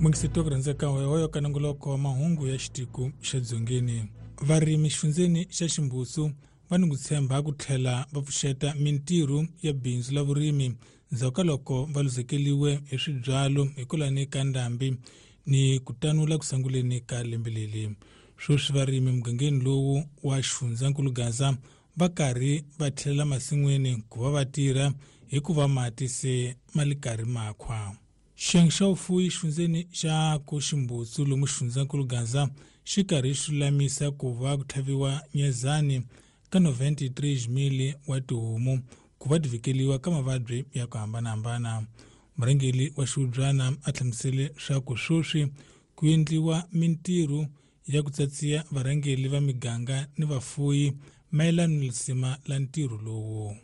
Mungiseti wa ku rhandzeka hoyohoyo ka nongoloko wa mahungu ya xitiko xa Dzongeni. Varimi xifundzeni xa Ximbusu va ni ku tshemba ku tlhela va pfuxeta mintirho ya bindzu la vurimi ndzhaku ka loko va luzekeliwe hi swibyalo hikwalani ka ndhambi ni ku tanula ku sanguleni ka lembe leri. Sweswi varimi mugangeni lowu wa xifundzankulu Gaza va karhi va tlhelela masin'wini ku va va tirha hikuva mati se ma li karhi makhwa. Xiyenge xa vufuwi xifundzeni xa Koximbutsu lomu xifundzankulu Gaza xi karhi xi lulamisa ku va ku tlhaviwa nyezani ka 93 wa tihomu ku va ti vhikeliwa ka mavabyi ya ku hambanahambana. Murhangeri wa xihubyana a hlamusele swa ku sweswi ku endliwa mintirho ya ku tsatsiya varhangeri va miganga ni vafuyi mayelana ni lisima la ntirho lowu.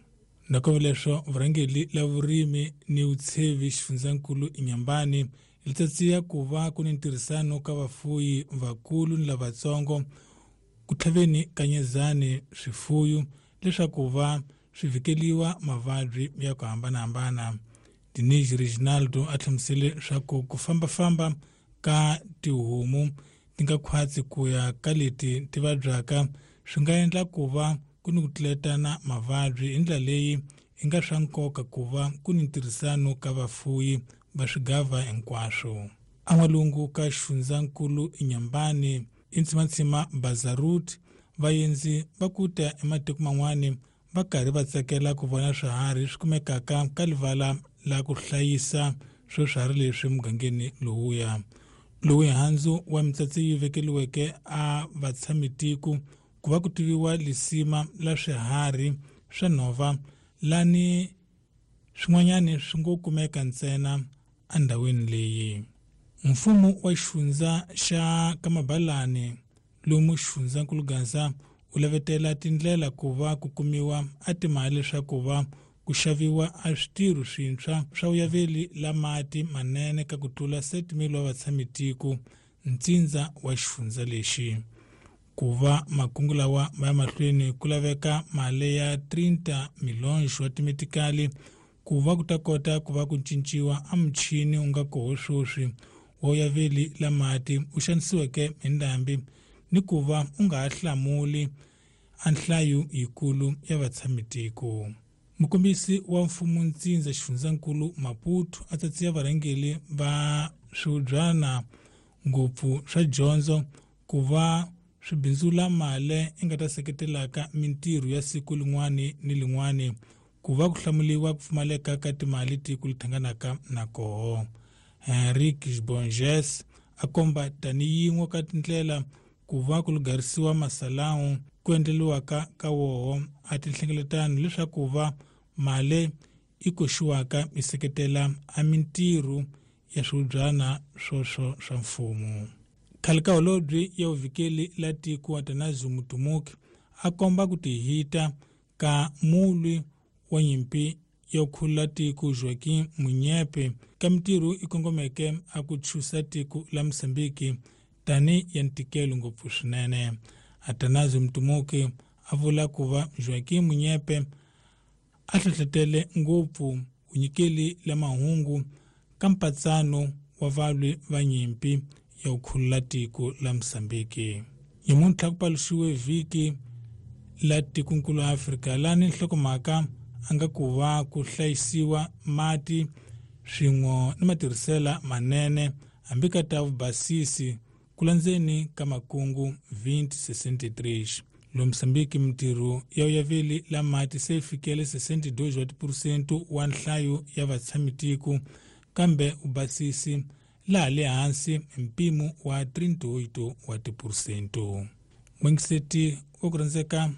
Nakambe leswo vurhangeri la vurimi ni vutshevi xifundzankulu Inyambani li tsatsiya ku va ku ni ntirhisano ka vafuyi vakulu ni lavatsongo ku tlhaveni ka nyezani swifuyu leswaku va swi vhikeliwa mavabyi ya ku hambanahambana. Denise Reginaldo a hlamusele swa ku fambafamba ka tihomu ti nga khwatsi ku ya ka leti ti vabyaka swi nga endla ku va ku ni ku tluletana mavabyi hi ndlela leyi i nga swa nkoka ku va ku ni ntirhisano ka vafuyi va swigava hinkwaswo. An'walungu ka xifundzankulu Inyambani i ntsimatsima Bazarut vaendzi va ku ta ematiko man'wani va karhi va tsakela ku vona swiharhi swi kumekaka ka livala la ku hlayisa swo swiharhi leswi mugangeni lowuya. Lowu handzu wa mitsatsi yi vekeliweke a vatshamitiko ku va ku tiviwa lisima la swiharhi swa nhova lani swin'wanyani swi ngo kumeka ntsena endhawini leyi. Mfumo wa xifundza xa Kamabalani lomu xifundzankulu Gaza u lavetela tindlela ku va ku kumiwa a timali leswaku va ku xaviwa a switirho swintshwa swa vuyaveli la mati manene ka ku tlula 7,000 wa vatshamitiko ntsindza wa xifundza lexi. Ku va makungu lawa ma ya mahlweni ku laveka mali ya 30 milhonxo wa timetikali ku va ku ta kota ku va ku cinciwa a muchini wu nga koho sweswi wa vuyaveli la mati u xanisiweke hi ndhambi ni ku va u nga ha hlamuli a nhlayo yikulu ya vatshamitiko. Mukombisi wa mfumo ntsindza xifundzankulu Maputo a tsatsiya varhangeri va swihubyana ngopfu swa dyondzo ku va swi bindzula mali i nga ta seketelaka mintirho ya siku lin'wani ni lin'wani ku va ku hlamuliwa ku pfumaleka ka timali tiko li thanganaka na koho. Henrique Bonges a komba tani yin'we ka tindlela ku va ku lugarisiwa masalawu ku endleliwaka ka woho a tinhlengeletano leswaku va mali i koxiwaka yi seketela a mintirho ya swihubyana swoswo swa mfumo. Khale ka holobye ya vuvhikeli la tiko Atanasio Mutumuki a komba ku tihita ka mulwi wa nyimpi ya khulula tiko Joaquim Munyepe ka mintirho i kongomeke a ku chusa tiko la Mozambique tani ya ntikelo ngopfu swinene. Atanasio Mutumuki a vula ku va Joaquim Munyepe a hlohletele ngopfu vunyikeli la mahungu ka mpatsano wa valwi va nyimpi ya ku khulula tiko la Mozambique. Nyamuntlha ku paluxiwe vhiki la tikonkulu Afrika lani nhlokomhaka a nga ku va ku hlayisiwa mati swin'we ni matirhisela manene hambi ka ta vubasisi ku landzeni ka makungu 2063. Lo Mozambique mintirho ya vuyaveli la mati se yi fikele 62 wa tiphurusente wa nhlayo ya vatshamitiko kambe vubasisi laha le hansi hi mpimo wa 38 wa tiphurusente. N'wingiseti wa ku rhandzeka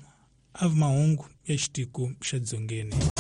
a vi mahungu ya xitiko xa Dzongeni.